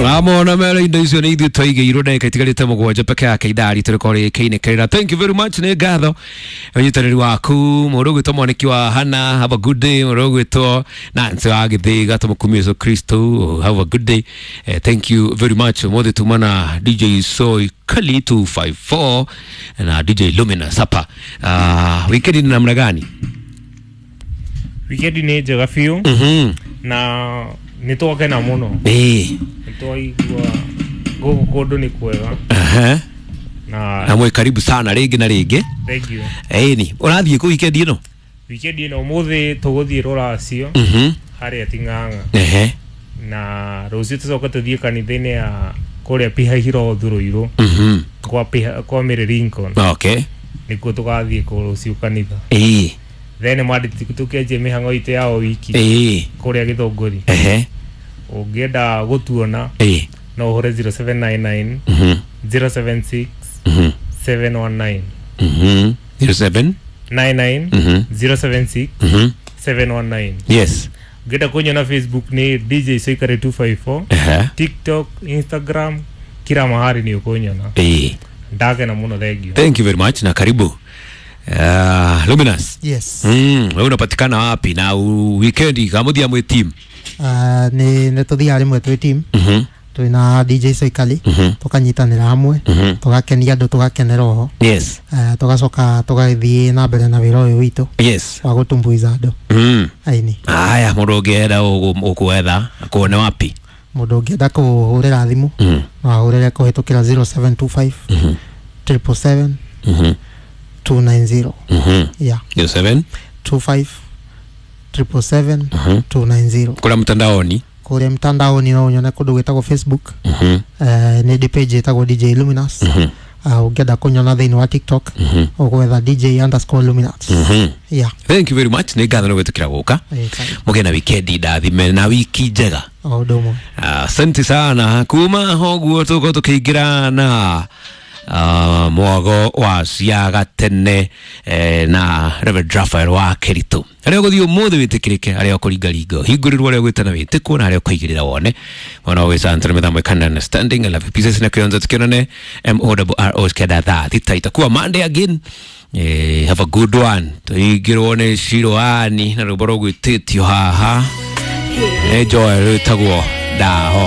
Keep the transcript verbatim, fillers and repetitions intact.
Amona mera indo icio nä ithuä twaigä ndagä itigarä te må gwanja peke yake ithaa ritå rä korwo rä kä inä. Thank you very much, nä ngatho å nyitanä ri waku må ndå å gwä two mwanäki wa Hana, have a good day. Må ndå å gwä two Nancy wa gä thä ga tå må kumie Yesu Kristo, have a good day. Eh, thank you very much. Må thä tuma na D J Soy Kali two five four na D J Luminous hapa. Uh, wikendi ni namna gani? Wikendi nä njega biå mhm na nä twakena må no. Eh. Nä twaigua gå kå kå ndå nä kwega Aha. na Na mwe karibu sana rĩngĩ na rĩngĩ. Thank you. Ĩni ũrathiĩ kũ wikendi ĩno? Wikendi ä no må thä tå gå thiä rå racio mhm harä a Ting'ang'a ehe na rå ciå tå coke tå thiä kanitha-inä ya kå rä a Pihahirothu rå irå mhm kwa Piha- kwa Mary Lincoln. Okay nä kuo tå gathiä kå rå cio kanitha. Ĩĩ. Then mwandä tå känjie mä hang'o itå ya o wiki Ĩĩ. kå rä a Gä thå ngå ri. Ehe. Å ngä enda gå tuona Ĩĩ. no å hå re zero seven nine nine mhm zero seven six mhm seven one nine. mhm zero seven nine nine mhm zero seven six mhm seven one nine. Yes. Ngĩenda kũnyona Facebook nĩ D J Soikare two five four. Ehe. TikTok, Instagram, kila mahali nĩ ũkũnyona. Ĩĩ. Ndakena mũno, thank you. Thank you very much na karibu. uh, Luminous. Yes. mm wewe unapatikana wapi na u- weekend kamuthia mwi team? Uh, nä nä tå thiaga rä mwe twä team mhm twä na D J Soikali, mhm tåkanyitanä ra hamwe, mhm tågakenia andå, tågakenera oho, yes uh, tågacoka tågathiä na mbere na wä ra å yå witå yes wa gå tumbuiza andå mm aini. Haya, mundu ungienda ukuetha akuone wapi? Må ndå å ngä enda kå hå rä ra thimå mm no ahå rä re kå hä tå kä ra zero seven two five mhm triple seven mhm two nine zero. mhm Yeah. zero seven two five triple seven mhm two nine zero. Kula mtandaoni? Kũrĩa mtandaoni no ũnyone kũndũ gwĩtagwo Facebook. mhm eh, nĩ ndĩ page ĩtagwo D J Luminous. mhm uh, ũngĩenda kũnyona thĩinĩ wa TikTok, mhm ũgwetha D J underscore Luminous. mhm Yeah. Thank you very much, nä ngatho nä gwä tå kä ra gå ka. Eh, karibu. Må gä na wikendi ndathime na wiki njega. O ũndũ ũmwe. Asante sana. Kuma hoguo tũgũkorwo tũkĩingĩra na uh, mwago wa ciaga tene eh, na Reverend Raphael wa Keritu arĩa ũgũthiĩ ũmũthĩ wĩtĩkĩrĩke, arĩa ũkũringaringa ũhingũrĩrwo, arĩa ũgwĩtana wĩtĩkwo, na arĩa ũkũigĩrĩra wone mwana wa gwĩcantara mĩthambo ikanda understanding. I love you pieces na kĩonzo tukionane M O R O kenda thaa thita itakuwa Monday again. Eh, have a good one. Tũingĩrwo nĩ Ciroani na rwĩmbo rũgwĩtĩtio haha nĩ Joel rwĩtagwo Ndaho.